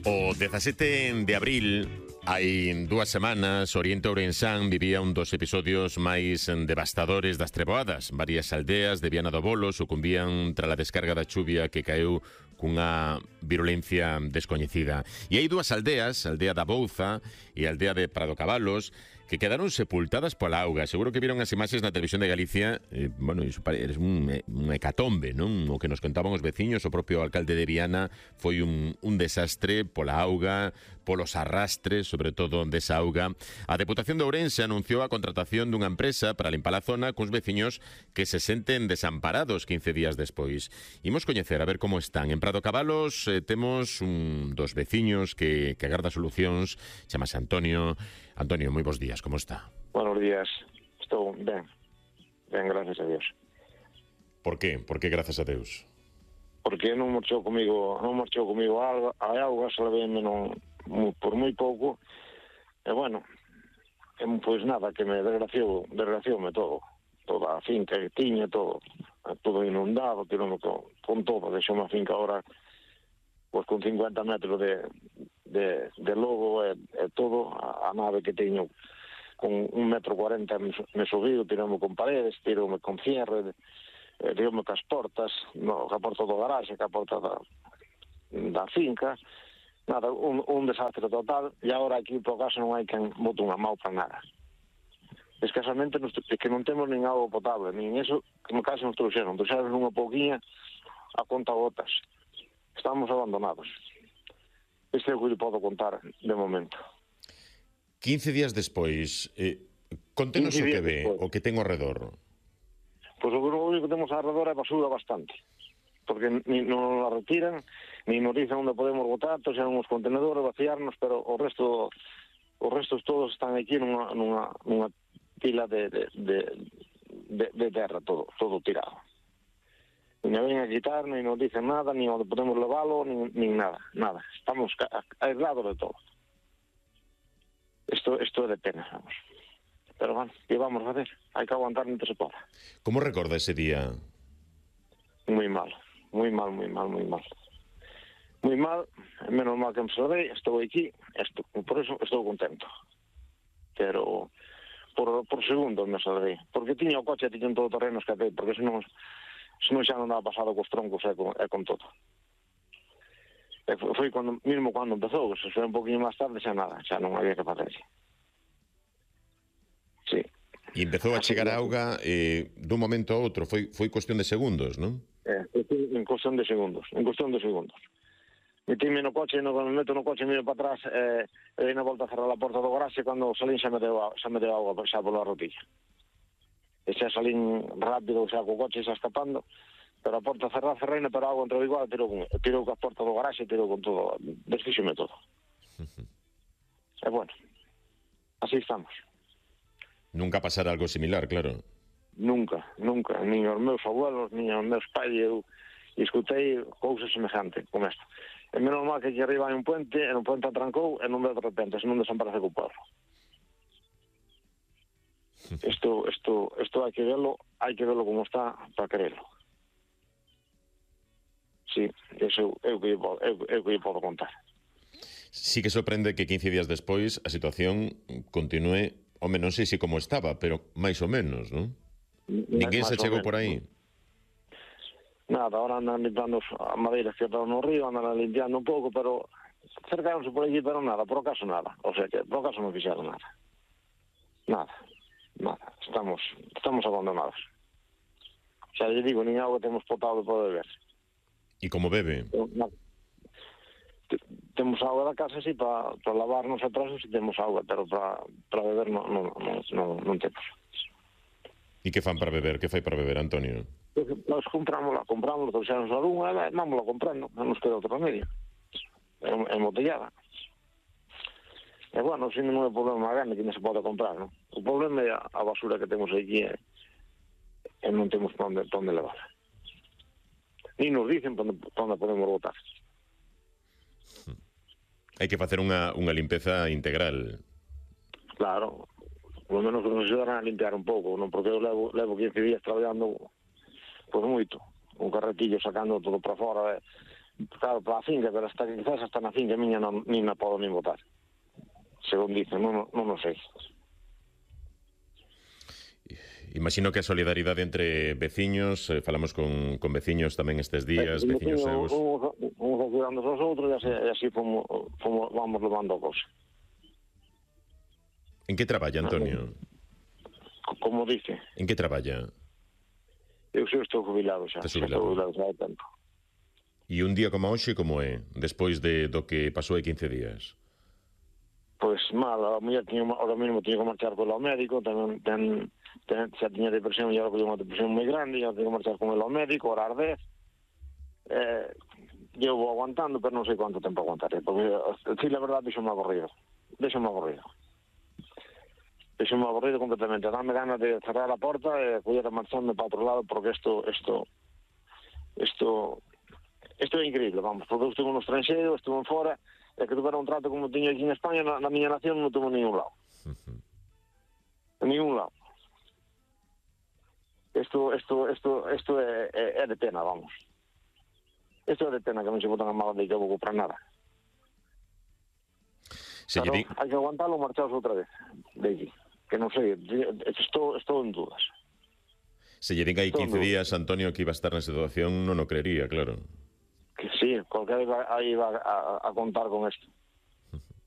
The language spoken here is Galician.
O 17 de abril, hai 2 semanas, Oriente Ourensán vivía un dos episodios máis devastadores das treboadas. Varias aldeas de Viana do Bolo sucumbían tras a descarga da chuvia que caeu cunha virulencia descoñecida. E hai 2 aldeas, a aldea da Bouza e a aldea de Prado Cabalos, que quedaron sepultadas pola auga. Seguro que viron as imaxes na televisión de Galicia. Bueno, iso é un hecatombe, non? O que nos contaban os veciños, o propio alcalde de Viana, foi un desastre pola auga, polos arrastres, sobre todo desa auga. A Deputación de Ourense anunciou a contratación dunha empresa para limpar a zona cuns veciños que se senten desamparados 15 días despois. Imos coñecer a ver como están. En Prado Cabalos temos un dos veciños que agarda solucións, chamase Antonio. Antonio, moi bons días, como está? Buenos días, estou ben, gracias a Dios. Por qué? Por que gracias a Deus? Porque non marchou comigo a auga, se leveme por moi pouco, e bueno, pois nada, que me desgracioume todo, toda a finca que tiña, todo inundado, tiroume con todo, deixou a finca ahora pois con 50 metros de logo e todo, a nave que teño con 1,40 m me subiu, tiroume con paredes, tiroume con cierre, tiroume cas portas, a porta do garaxe, a porta da finca, nada, un desastre total, e agora aquí por caso non hai quen bote unha mão para nada. Escasamente que non temos nin auga potable, nin eso, que no caso nos trouxeron unha pouquiña a conta gotas. Estamos abandonados. Este é o que lle podo contar de momento. 15 días despois, contenos o que ve, o que ten ao redor. Pois o único que temos ao redor é basura bastante, porque non la retiran, ni nos dicen onde podemos botar, trouxeron uns contenedores, vaciarnos, pero os restos todos están aquí nunha pila de terra, todo tirado. Ni ven a quitar, ni nos dicen nada, ni onde podemos leválo, ni nada. Estamos aislados de todo. Esto é de pena, vamos. Pero bueno, ¿qué vamos a hacer? Hai que aguantar mientras se poda. Como recorda ese día? Muy mal. Muy mal, menos mal que me salvei, estou aquí, por eso estou contento. Pero por segundos me salvei, porque tiña o coche, tiña todo terreno escapei, porque senón xa non daba pasado cos troncos e con todo. Foi mesmo cando empezou, se foi un poquinho máis tarde, xa nada, xa non había que facer. Sí. E empezou a chegar a auga dun momento a outro, foi cuestión de segundos, non? En cuestión de segundos. Metíme no coche, me meto no coche, miro para atrás, e dei na volta a cerrar a porta do garaxe, cando salín xa me deu auga xa pola rotilla. E xa salín rápido, xa co coche xa escapando, pero a porta cerreina, pero a auga entrou igual, tirou ca porta do garaxe, tirou con todo, desfíxome todo. E bueno, así estamos. Nunca pasara algo similar, claro. Nunca, nin os meus abuelos, nin os meus pais, eu escutei cousas semejantes como esta. E menos mal que aquí arriba hai un puente, e no puente atrancou, e non veo de repente, senón desaparece co pueblo. Isto hai que verlo como está para quererlo. Sí, eso é o que eu podo contar. Sí que sorprende que 15 días despois a situación continúe, home, non sei se como estaba, pero máis ou menos, non? Ninguén se chegou por aí. Nada, ahora andan limpiando a madeira que está no río, andan limpiando un pouco, pero cercaronse por aquí, pero nada, por acaso nada. O sea que por acaso non fixeron nada. Nada. Estamos abandonados. Xa lle digo, nin auga temos potable para beber. E como bebe? Temos auga da casa, sí, para lavarnos e trasos, sí temos auga, pero para beber non temos. E que fan para beber? Que fai para beber, Antonio? Nós comprámosla, trouxeron a lunga, vámonos comprando, non nos queda outro remedio. É embotellada. E bueno, se non é un problema grande que non se pode comprar, non? O problema é a basura que temos aquí e non temos para onde levarla. Ni nos dicen para onde podemos botar. Hai que facer unha limpeza integral. Claro, polo menos que nos ayudaran a limpiar un pouco, non? Porque eu levo 15 días traballando por moito, un carretillo sacando todo para fora, claro, para a finca, pero hasta que quizás hasta na finca miña nin na podo nin botar. Según dicen, non o sei. Imagino que a solidaridade entre veciños, falamos con veciños tamén estes días, veciños seus. Uns ayudando aos outros e así vamos levando a cosa. En que traballa, Antonio? Como dice? En que traballa? Eu estou jubilado xa. Estou jubilado xa hai tempo. E un día como hoxe, como é? Despois do que pasou hai 15 días. Pois mal, a muller ahora mesmo tiña que marchar con ela ao médico, xa tiña depresión e agora unha depresión moi grande, e tiña que marchar con ela ao médico, ahora ardez. Eu vou aguantando, pero non sei quanto tempo aguantaré, porque, si la verdad, deixo-me aburrido completamente. Dame ganas de cerrar a porta e poder marcharme para outro lado, porque isto é increíble, vamos, porque eu estuve no estranxeiro, estuve en fora, e que tuvera un trato como tiña aquí en España, na miña nación non tuvo ningún lado. Ningún lado. Isto é de pena, vamos. Isto é de pena que non se botan a mala de que eu vou comprar nada. Pero hai que aguantalo, marchaos outra vez de aquí. Que non sei, estou en dudas. Se lle din hai 15 días, Antonio, que iba a estar na situación, non o creería, claro. Que sí, cualquiera iba a contar con isto.